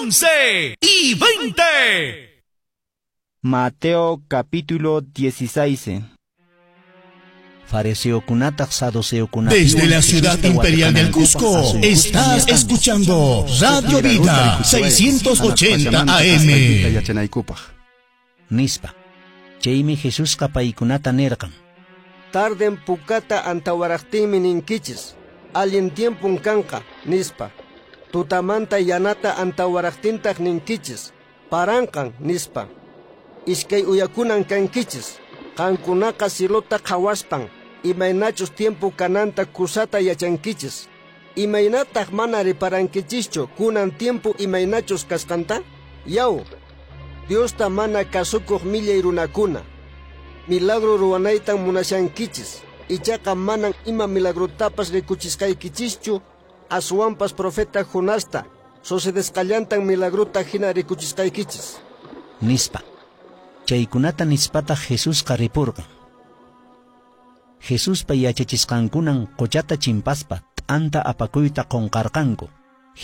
11 y 20. Mateo capítulo 16. Fariseokunataq saduceokunata Desde la ciudad imperial del Cusco, estás escuchando Radio Vida 680 AM. Yachanaykupaq. Nispa. Chaymi Jesusqa paykunata nirqan. Tarden pukata antawaraqtinmi ninkichis, allin tiempun kanqa, nispa. Tutamanta yanata antawaraqtintaq ninkichis, paranqan, nispa. Iskay uyakunan kankichis, qankunaqa cielota qhawaspan, imaynachus tiempo kananta kusata yachankichis. Imaynataq mana reparankichischu kunan tiempo imaynachus kasqanta? Yaw, Diosta mana kasukuq millay runakuna. Milagro ruwanaytan munashankichis, ichaqa manan ima milagrotapas rikuchisqaykichischu, aswanpas profeta Jonasta sucedesqallantan milagrota hina rikuchisqaykichis. Nispa. Chaykunata nispataq Jesusqa ripurqan. Jesuspa yachachisqankunan qochata chimpaspa t'anta apakuyta qunqarqanku.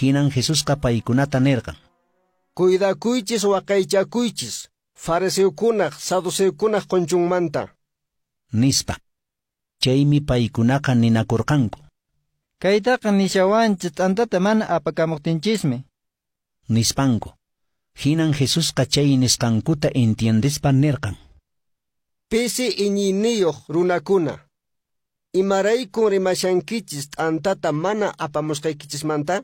Hinan Jesusqa paykunata nirqan. Cuidakuychis waqaychakuychis, fariseokunaq, saduceokunaq qunchunmanta. Nispa. Chaymi paykunaqa ninakurqanku. Kaytaqa nishawanchis t'antata mana apakamuqtinchismi. Nispanku. Hinan Jesusqa chay nisqankuta entiendespa nirqan. Pisi iñiyniyuq runakuna, imaraykun rimashankichis t'antata mana apamusqaykichismanta?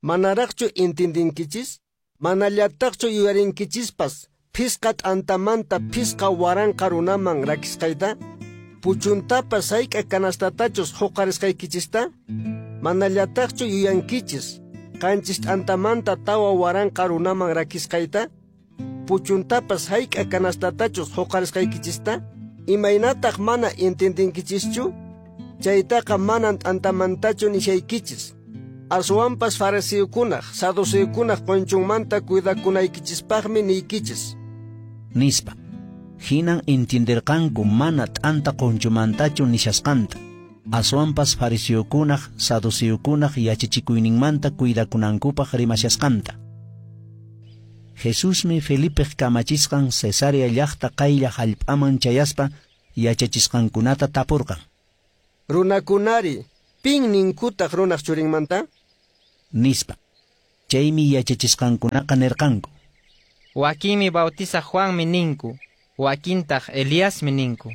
Manaraqchu entendinkichis? Manallataqchu yuyarinkichispas phisqa t'antamanta phisqa waranqa runaman rakisqayta? Puchuntapas hayk'a canastatachus huqarisqaykichista? Manallataqchu yuyankichis qanchis t'antamanta 4000 runaman rakisqayta? Puchuntapas hayk'a canastatachus huqarisqaykichista? Imaynataq mana entendinkichischu? Chaytaqa manan t'antamantachu nishaykichis. Aswanpas fariseokunaq, saduceokunaq qunchunmanta cuidakunaykichispaqmi niykichis. Nispa. Hinan entienderqanku mana t'anta qunchumantachu nishasqanta. Aswanpas fariseokunaq, saduceokunaq yachachikuyninmanta cuidakunankupaq rimashasqanta. Jesusmi Felipeq kamachisqan Cesarea llaqta qaylla hallp'aman chayaspa yachachisqankunata tapurqan. Runakunari, pin ninkutaq runaq churinmanta? Nispa. Chaymi yachachisqankunaqa nirqanku. Wakinmi bautizaq Juanmi ninku, wakintaq Eliasmi ninku.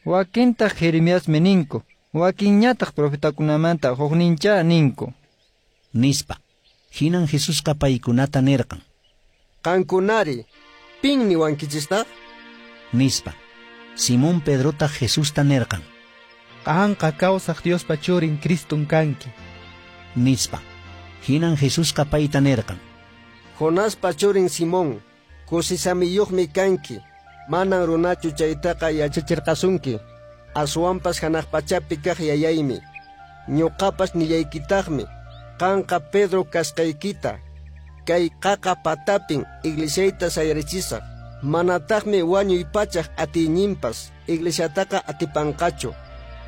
Wakintaq Jeremiasmi ninku, wakinñataq profetakunamanta huknincha ninku. Nispa. Hinan Jesusqa paykunata nirqan. Qankunari, pin niwankichistaq? Nispa. Simón Pedrotaq Jesusta nirqan. Qanqa kawsaq Diospa churin Criston kanki. Nispa. Hinan Jesusqa payta nirqan. Jonaspa churin Simón, kusisamiyuqmi kanki, manan runachu chaytaqa yachachirqasunki, aswanpas hanaq pachapi kaq yayaymi. Ñuqapas nillaykitaqmi, qanqa Pedro kasqaykita, kay qaqa patapin iglesiayta sayarichisaq, manataqmi wañuy pachaq atiyninpas iglesiataqa atipanqachu.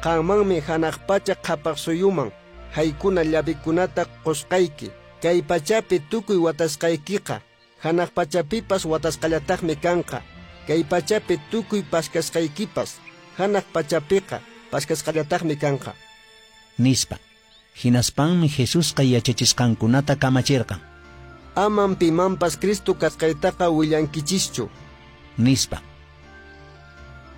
Qanmanmi hanaq pacha qhapaq suyuman haykuna llavikunata qusqayki, kay pachapi tukuy watasqaykiqa hanaq pachapipas watasqallataqmi kanqa, kay pachapi tukuy paskasqaykipas hanaq pachapiqa paskasqallataqmi kanqa. Nispa. Hinaspanmi Jesusqa yachachisqankunata kamachirqan. Aman pimanpas Cristo kasqaytaqa willankichischu. Nispa.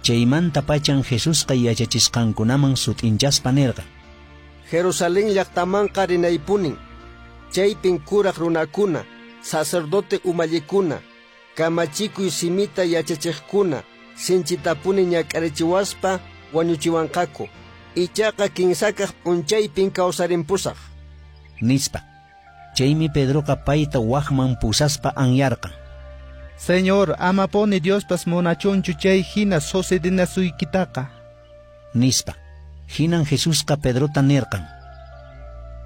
Chaymanta pachan Jesusqa yachachisqankunaman sut'inchaspa nirqan. Jerusalén llaqtamanqa rinaypunin, chaypin kuraq runakuna, sacerdote umallikuna, kamachikuy simita yachachiqkuna, sinchitapuni ñak'arichiwaspa wañuchiwanqaku. Ichaqa kinsakaq p'unchaypin kawsarimpusaq. Nispa. Chaymi Pedroqa payta waqman pusaspa anyarqan. Señor, amapuni Diospas munachunchu chay hina sucedinasuykitaqa. Nispa. Hinan Jesusqa Pedrota nirqan.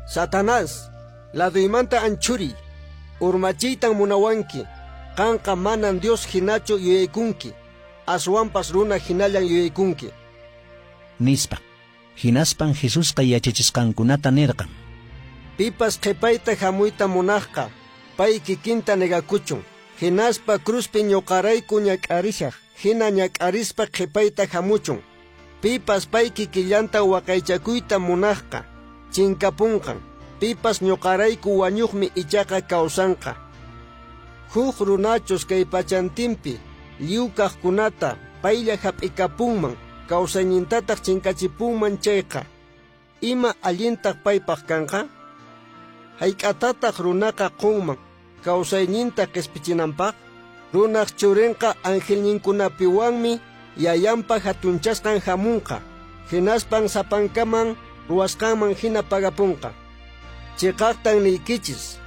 Satanás, laduymanta anchuriy, urmachiytan munawanki, qanqa manan Dios hinachu yuyaykunki, aswanpas runa hinallan yuyaykunki. Nispa. Hinaspan Jesusqa yachachisqankunata nirqan. Pipas qhipayta hamuyta munaqqa, pay kikinta negakuchun. Hinaspa cruzpi ñuqarayku ñak'arishaq, hina ñak'arispa qhipayta hamuchun. Pipas pay kikillanta waqaychakuyta munaqqa, chinkapunqan. Pipas ñuqarayku wañuqmi ichaqa kawsanqa. Huk runachus kay pachantinpi lliw kaqkunata paylla hap'ikapunman, kawsaynintataq chinkachipunman chayqa, ima allintaq paypaq kanqa? Hayk'atataq runaqa qunman kawsayninta qispichinanpaq? Runaq churinqa angelninkunapiwanmi yayanpa hatunchasqan hamunqa, hinaspan sapankaman ruwasqanman hina pagapunqa. Chiqaqtan niykichis,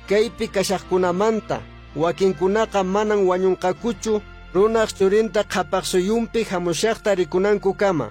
kaypi kashaqkunamanta wakinkunaqa manan wañunqakuchu runaq churinta qhapaq suyunpi hamushaqta rikunankukama.